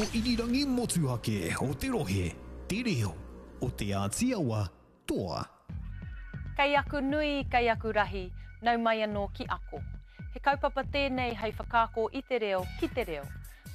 reo irirangi motuhake o te rohe, te reo o Te Āti Awa, toa. Kei aku nui, kei aku rahi, nau mai anō ki Ako. He kaupapa tēnei hei whakaako i te reo ki te reo.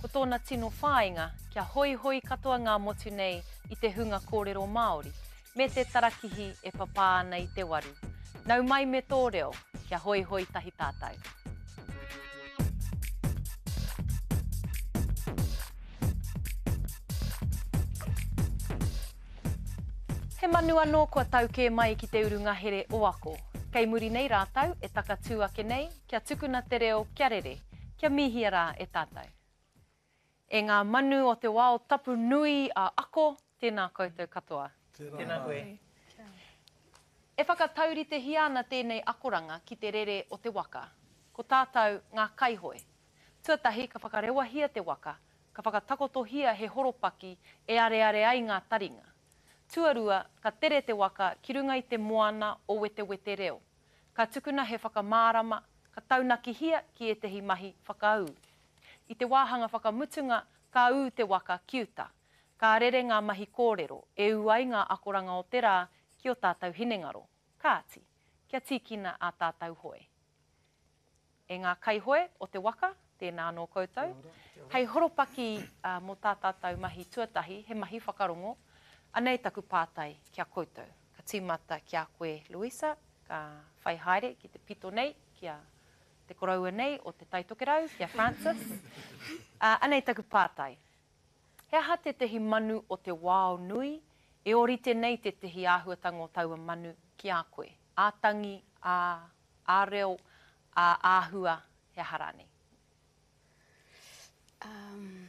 Ko tōna tino whāinga, kia hoihoi katoa ngā motu nei i te hunga kōrero Māori, me te tarakihi e papā ana i te waru. Nau mai me tō reo, kia hoihoi tahi tātou. He manu anō kua tau kē mai ki te uru ngahere o Ako. Kei muri nei rātou e takatū ake nei kia tukuna te reo kia rere, kia mihia rā e tātou. E ngā manu o te wao tapu nui a Ako, tēnā koutou katoa. Tēnā koe. E whakatauritehia ana tēnei akoranga ki te rere o te waka. Ko tātou ngā kaihoe. Tuatahi ka whakarewahia te waka, ka whakatakotohia he horopaki e areare ai ngā taringa. Tuarua, ka tere te waka ki runga i te moana o Wetewete Reo. Ka tukuna he whakamārama, ka taunakihia ki ētehi mahi whakaū. I te wāhanga whakamutunga, ka ū te waka ki uta. Ka rere ngā mahi kōrero, e ū ai ngā akoranga o te rā ki ō tātou hinengaro. Kāti, kia tīkina ā tātou hoe. E ngā kaihoe o te waka, tēnā anō koutou. Hei horopaki mō tā tātou mahi tuatahi, he mahi whakarongo, anei taku pātai ki a koutou. Ka tīmata ki a koe, Louisa, ka whai haere ki te pito nei, ki a te koroua nei o Te Tai Tokerau, ki a Francis. Anei taku pātai. He aha tētehi manu o te wao nui e ōrite nei tētehi āhuatanga o taua manu ki a koe? Ā-tangi, ā, ā-reo, ā-āhua, he aha rānei? Um,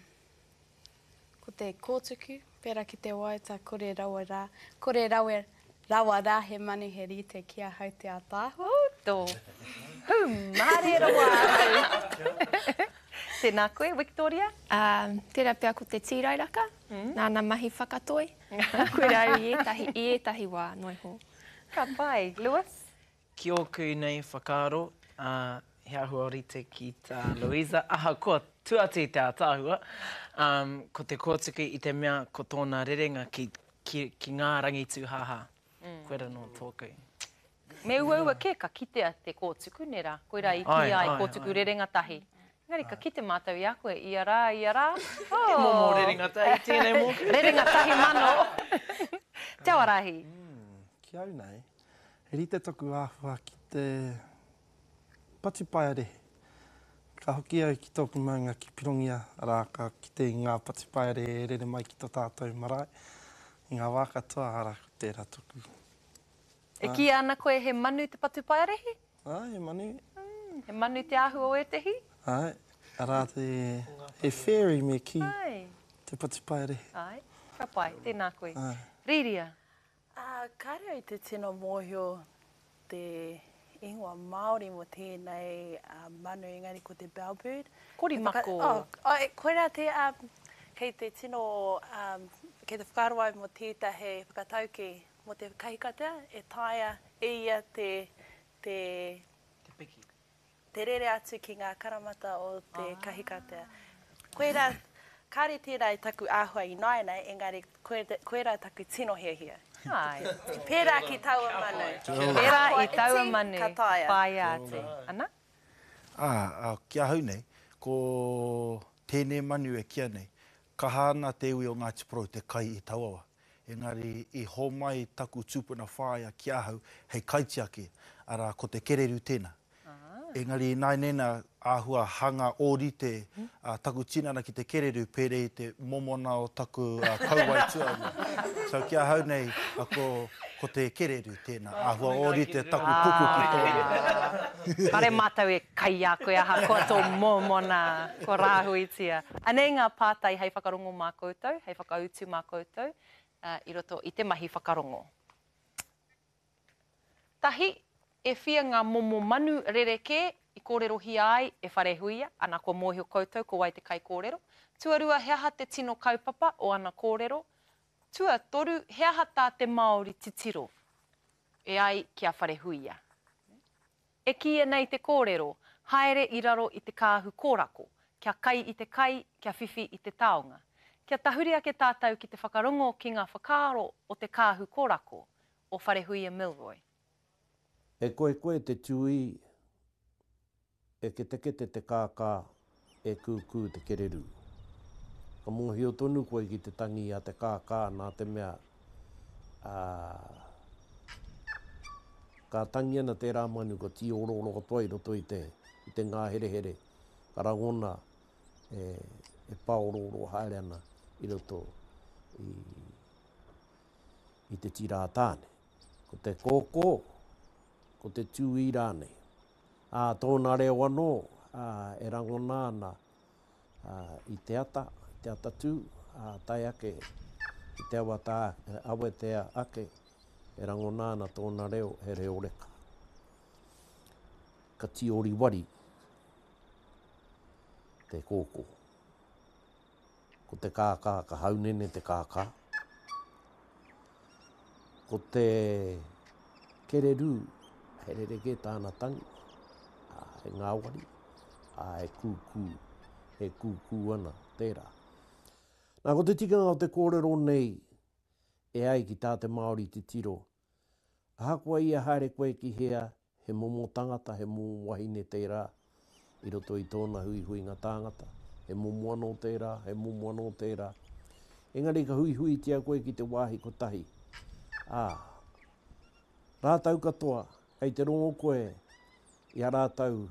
ko te kōtuku, pērā ki te waiata kore rawa rā, kore rawe rawa rā he manu he rite ki ahau te ātaahua. Oh, tō hūmārie rawa atu. Tēnā koe, Wiktoria. Um, tērā pea ko te tīrairaka, mm. nāna mahi whakatoi. Koirā i ētahi, i ētahi wā, noa iho. Ka pai. Lewis? Ki ōku nei whakaaro, ā, he āhua rite ki tā Louisa, ahakoa tua atu i te ātaahua, ā, ko te kōtuku i te mea ko tōna rerenga ki, ki, ki ngā rangi tūhāhā. Koira nō tōku. Me uaua kē ka kitea te kōtuku, nē rā? Koirā i kīia ai kōtuku rerenga tahi. Engari ka kite mātou i a koe ia rā, ia rā. Oh! He momo rerenga tahi tēnei mōku. Rerenga tahi mano. Te Awarahi. Ki au nei, He rite taku āhua ki te patupaiarehe. Ka hoki au ki tōku maunga ki Pirongia, arā, ka kite i ngā patupaiarehe e rere mai ki tō tātou marae i ngā wā katoa, arā, ko tērā toku. E kīia ana koe he manu te patupaiarehe? Āe, he manu. He manu te āhua o ētehi? Āe, arā te, he fairy me kī, te patupaiarehe. Āe, ka pai, tēnā koe. Rīria, Ā, kāre au i te tino mōhio te ingoa Māori mō tēnei manu, engari ko te bellbird. Korimako. Oh, oh, koirā te, kei te tino, kei te whakaaro au mō tētahi whakataukī mō te kahikatea e taea e ia te, te. Te piki. Te rere atu ki ngā karamata o te kahikatea. Koirā, kāre tērā i taku āhua ināianei, engari koirā taku tino hiahia. Āe. Pērā ki taua manu. Pērā i taua manu, ka taea. Whāia atu. Ana? Ā, ki ahau nei, ko tēnei manu e kīa nei, kaha ana te iwi o Ngāti Porou te kai i taua wā. Engari i homai taku tupuna whaea ki ahau hei kaitiaki, arā, ko te kereru tēnā. Engari ināianei nā, āhua hanga ōrite taku tinana ki te kereru pērē i te momona o taku kauae tuarua. So ki ahau nei, ko, ko te kereru tēnā, āhua ōrite taku puku ki tōna. Kāre mātou e kai i a koe ahakoa tō mōmona, kua rāhuitia. Anei ngā pātai hei whakarongo mā koutou, hei whakautu mā koutou i roto i te mahi whakarongo. Tahi, e whia ngā momo manu rerekē i kōrerohia ai e Wharehuia, ana kua mōhio koutou ko wai te kaikōrero. Tuarua, he aha te tino kaupapa o ana kōrero? Tuatoru, he aha tā te Māori titiro e ai ki a Wharehuia? E kīia nei te kōrero, haere i raro i te kāhu kōrako, kia kai i te kai, kia whiwhi i te taonga. Kia tahuri ake tātou ki te whakarongo ki ngā whakaaro o te kāhu korako, o Wharehuia Milroy. E koekoe te tūī, e ketekete te kākā, e kūkū te kererū. Ka mōhio tonu koe ki te tangi a te kākā nā te mea, ā, ka tangi ana tērā manu ka tīorooro katoa i roto i te, i te ngāherehere, ka rangona e, e pāorooro haere ana i roto i, i te tira a Tāne. Ko te kōkō, ko te tūī rānei. Ā, tōna reo anō, ā, e rangona ana, ā, i te ata, i te atatū, ā, tae ake ki te awata, awetea ake, e rangona ana tōna reo, he reo reka. Ka tīoriwari te kōkō. Ko te kākā, ka haunene te kākā. Ko te kererū, he rerekē tāna tangi, ā, he ngāwari, ā, he kūkū, he kūkū ana tērā. Nā, ko te tikanga o te kōrero nei, e ai ki tā te Māori titiro, ahakoa ia haere koe ki hea, He momo tangata, he momo wahine tērā i roto i tōna huihuinga tāngata. He momo anō tērā, he momo anō tērā. Engari ka huihuitia koe ki te wāhi kotahi, ā, rātou katoa, kei te rongo koe i a rātou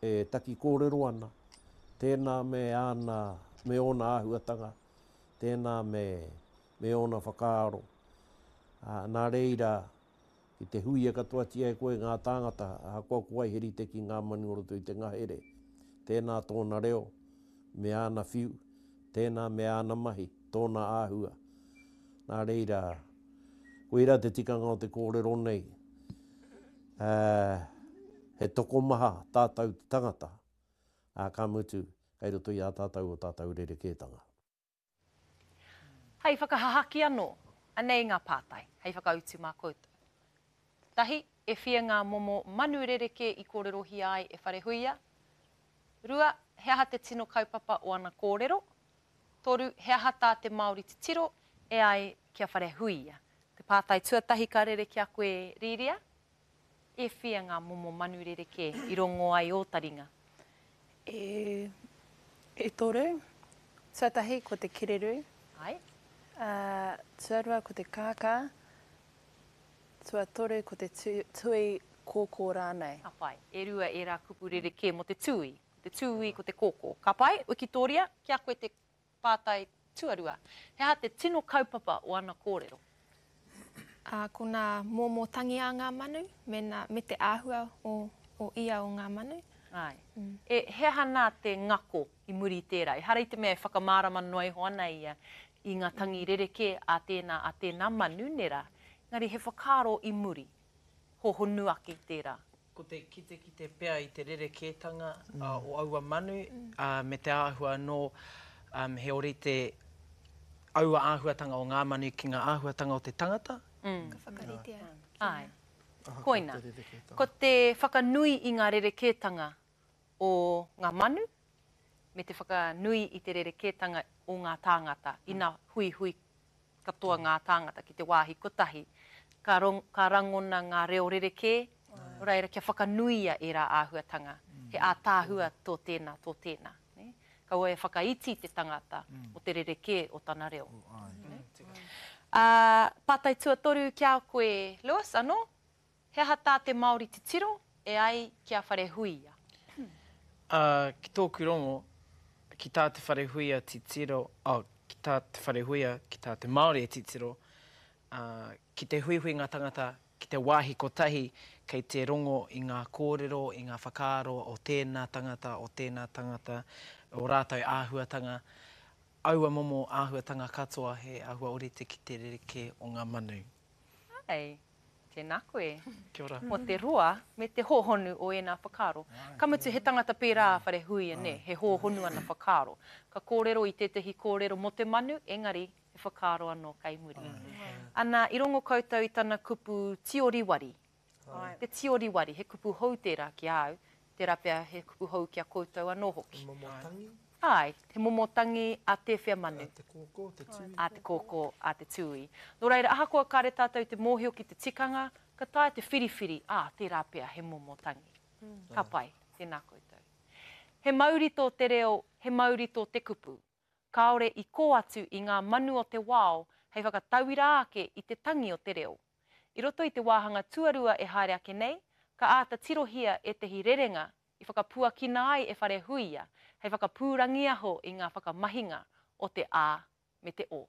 e taki kōrero ana, tēnā me āna, me ōna āhuatanga, tēnā me, me ōna whakaaro. Ā, nā reira, Ki te huia katoatia e koe ngā tāngata, ahakoa ko wai he rite ki ngā manu o roto i te ngahere, tēnā tōna reo, me āna whiu, tēnā me āna mahi, tōna āhua. Nā reira, koirā te tikanga o te kōrero nei, ā, he tokomaha tātou te tangata, ā, ka mutu, kei roto i a tātou ō tātou rerekētanga. Hei whakahahaki anō, anei ngā pātai hei whakautu mā koutou. Tahi, e whia ngā momo manu rerekē i kōrerohia ai e Wharehuia? Rua, he aha te tino kaupapa o ana kōrero? Toru, he aha tā te Māori titiro e ai ki a Wharehuia? Te pātai tuatahi ka rere ki a koe Rīria, E whia ngā momo manu rerekē i rongo ai ō taringa? E, e toru. Tuatahi ko te kererū. Āe. Ā, tuarua ko te kākā. Tuatoru ko te tū, tui kōkō rānei. Ka pai. E rua ērā kupu rerekē mō te tūī. Ko te tūī, ko te kōkō. Ka pai, Wikitōria, ki a koe te Pātai tuarua, he aha te tino kaupapa o ana kōrero? Ā, ko ngā momo tangi a ngā manu, me nā, me te āhua o, o ia o ngā manu. Āe. E, he aha nā te ngako i muri i tērā? Ehara i te mea e whakamārama noa iho ana ia i ngā tangi rerekē a tēnā, a tēnā manu, nē rā? Engari he whakaaro i muri, hōhonu ake i tērā. Ko te kitekite pea i te rerekētanga o aua manu me te āhua anō he ōrite aua āhuatanga o ngā manu ki ngā āhuatanga o te tangata. Ka whakaritea. Āe. Koina. Ko te whakanui i ngā rerekētanga o ngā manu me te whakanui i te rerekētanga o ngā tāngata ina huihui katoa ngā tāngata ki te wāhi kotahi, ka, ka rangona ngā reo rerekē, nō reira kia whakanuia ērā āhuatanga, he ātaahua tō tēnā, tō tēnā. Nē? Kaua e whakaiti te tangata o te rerekē o tana reo. Ā, pātai tuatoru ki a koe, Lewis, anō, He aha tā te Māori titiro e ai ki a Wharehuia? Ā, ki tōku rongo, ki tā Te Wharehuia titiro, oh, ki tā Te Wharehuia, ki tā te Māori e titiro, ā, ki te huihui ngā tangata ki te wāhi kotahi kei te rongo i ngā kōrero, i ngā whakaaro o tēnā tangata, o tēnā tangata, o rātou āhuatanga, aua momo āhuatanga katoa he āhua ōrite ki te rerekē o ngā manu. Āe. Tēnā koe. Kia ora. Mō te roa me te hōhonu o ēnā whakaaro. Ka mutu he tangata pērā a Wharehuia, nē, he hōhonu ana whakaaro. Ka kōrero i tētahi kōrero mō te manu, engari he whakaaro anō kei muri. Ana, i rongo koutou i tana kupu tioriwari. Te tioriwari, he kupu hou tērā ki a au, tērā pea he kupu hou ki a koutou anō hoki. He momo tangi? Āe, he momo tangi a tēwhea manu? A te kōkō, te tūī. A te kōkō, a te tūī. Nō reira, ahakoa kāre tātou i te mōhio ki te tikanga, ka taea te whiriwhiri, ā, tērā pea he momo tangi. Ka pai, tēnā koutou. He mauri tō te reo, he mauri tō te kupu. Kāore i kō atu i ngā manu o te wao hei whakatauira ake i te tangi o te reo. I roto i te wāhanga tuarua e haere ake nei, ka āta tirohia ētehi rerenga i whakapuakina ai e Wharehuia hei whakapūrangiaho i ngā whakamahinga o te A me te O.